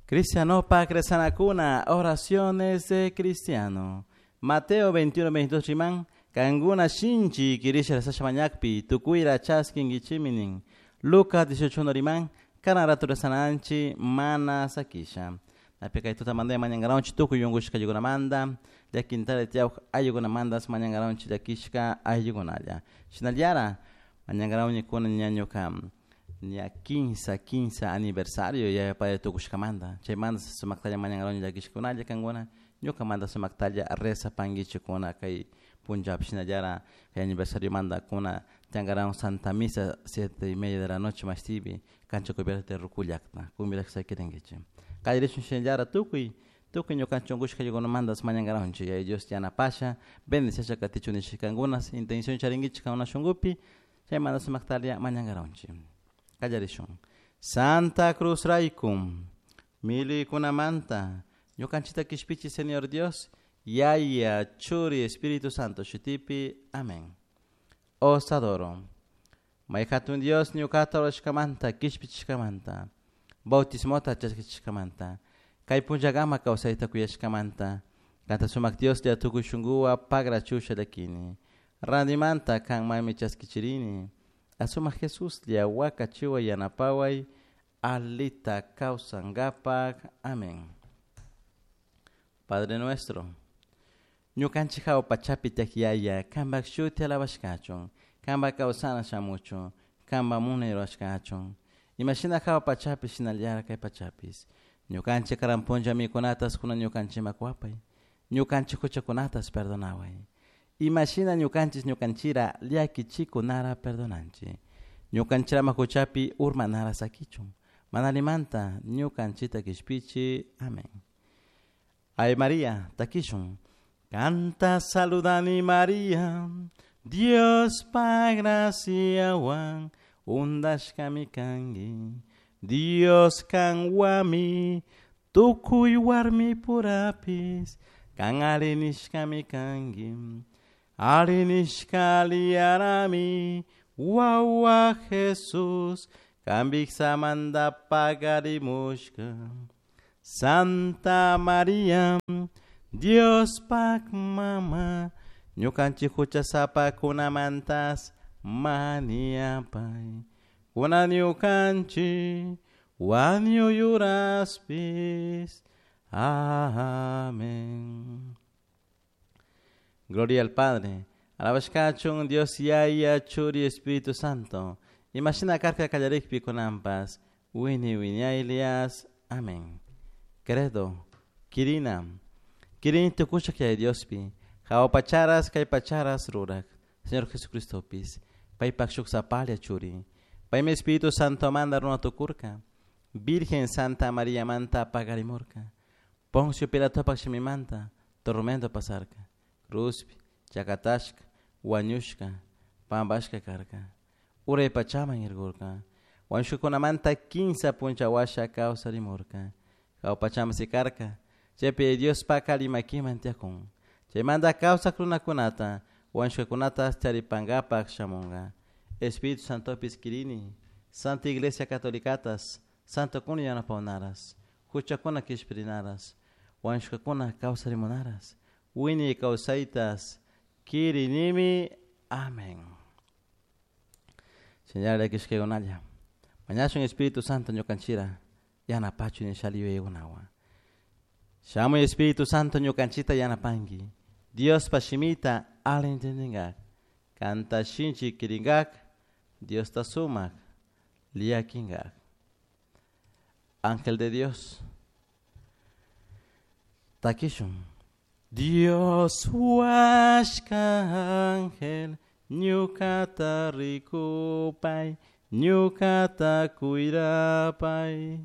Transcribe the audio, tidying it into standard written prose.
Cristianopak rezanakuna, oraciones de cristiano. Mateo 21, 22 riman, kankuna shinchi kirisha rezasha mañakpi, tukuyra chaskinkichimi nin. Lucas 18 riman, kanan rato rezananchi mana sakisha. Napi kay tutamanta mañankaranchik tukuy unkushka ayllukunamanta, llakintalla tiyawak ayllukunamantas mañankaranchik llakishka ayllukunalla. Shinallara mañankarawñikuna ña ñuka ña kinsa kinsa aniversario yaya padre tukushkamanta, chaymanta sumaktalla mañankarawñi llakishkunalla kankuna ñukamanta sumaktalla rezapankichikkuna kay punllapi shinallara kay aniversariomanta kuna tiyankarawun Santa Misa 7:30 de la noche mashtipi cancha cubierta de Rucu llakta kumbirashka sakirinkichik. Kallarishun shinallara tukuy tukuy ñukanchik unkushka ayllukunamantas mañankarawunchik Yaya Dios yanapasha bendiciasha katichun nishka kankuna intención charinkichik kankuna shunkupi chaymanta sumaktalla mañankarawunchik. Kallarishun. Santa Cruz rayku milikunamanta ñukanchikta kishpichi Señor Dios Yaya Churi Espíritu Santo shutipi. Amén. Os adoro. May hatun Dios ñukata rurashkamanta kishpichishkamanta bautismota chaskichishkamanta kay punllakama kawsayta kuyashkamanta kanta sumak Dioslla tukuy shunkuwan pagrachusha llakini rantimanta kanmanmi chaskichirini asumak Jesuslla wakachiway yanapaway alita kawsankapak. Amén. Padre nuestro, ñukanchik hawa pachapi tiyak Yaya, kanpak shuti alabashkachun, kanpak kawsana shamuchun, kanpak munay rurashkachun. Imashina hawa pachapi shinallara kay pachapis. Ñukanchik karan punlla mikunatas kunan ñukanchikman kuwapay. Ñukanchik huchakunatas perdonaway. Imashina ñukanchik ñukanchira llakichikunara perdonanchik. Ñukanchirama huchapi urmanara sakichun. Mana allimanta ñukanchikta kishpichi. Amén. Ave María, takishun. Kanta saludani María, Diospak graciawan undashkami kanki. Dios kanwami tukuy warmipurapis kan ari nishkami kanki. Ari nishka aliyarami wawa Jesús kan vijsamanta pagarimushka. Santa María, Diospak mama, ñukanchik huchasapakunamantas mañapay. Kunan ñukanchik wañuy uraspis. Amén. Gloria al Padre. Alabashkachun Dios Yaya Churi Espíritu Santo. Imashina karka kallarikpi kunanpas. Wini wiñaylias. Amén. Credo. Kirina. Kirini tukushak Yaya Diospi. Hawa pacharas kay pacharas rurak. Señor Jesucristopis. Paypak shuk sapalla churi. Paymi Espíritu Santo manda runa tukurka. Virgen Santa María manta pagarimurka. Poncio Pilatopak shimimanta tormento pasarka. Cruzpi, chakatashka, wañushka, pampashka karka. Uray pachaman irkurka. Wañushkakunamanta kinsa puncha washa kawsarimurka. Hawa pachaman sikarka. Chaypi Diospak alli makiman tiyakun. Chaymanta kawsak runakunata wañushkakunata charipankapak shamunka. Espíritu Santopis kirini, Santa Iglesia Catolicatas, Santokuna yanapawnaras, huchakuna kishpirinaras, wañushkakuna kawsarimunaras, wiñay kawsaytas kirinimi. Amén. Señor, llakishkaykunalla. Mañashun Espíritu Santo ñukanchira yanapachu nishali yuyaykunawan. Shamuy Espíritu Santo ñukanchita yanapanki. Diospa shimita ali entendingak. Kanta shinchi kiringak. Diosta sumak llakingak. Ángel de Dios. Takishun. Dios huashka ángel, ñukata rikupay, ñukata cuirapay.